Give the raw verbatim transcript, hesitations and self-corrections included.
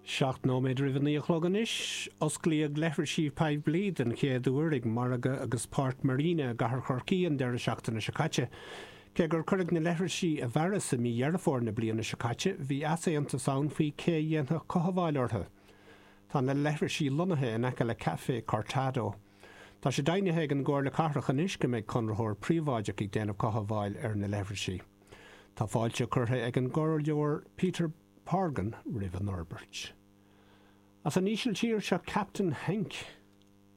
Seacht nóiméad roimh a naoi a chlog anois, osclaíodh leithrisí poiblí den chéad uair ag Margadh agus Páirc Marina i gCathair Chorcaí an deireadh seachtaine seo caite. Cé gur cuireadh na leithrisí i bhfearas i mí Dheireadh Fómhair na bliana seo caite, bhí easaontas ann faoi cé a dhéanfadh cothabháil orthu. Tá na leithrisí lonnaithe in aice le Café Cortado. Tá sé deimhnithe ag an gComhairle Cathrach anois go mbeidh conraitheoir príobháideach ag déanamh cothabháil ar na leithrisí. Tá fáilte curtha ag an gComhairleoir Peter Horgan roimh an fhorbairt. As an Ísiltír seo Captain Henk.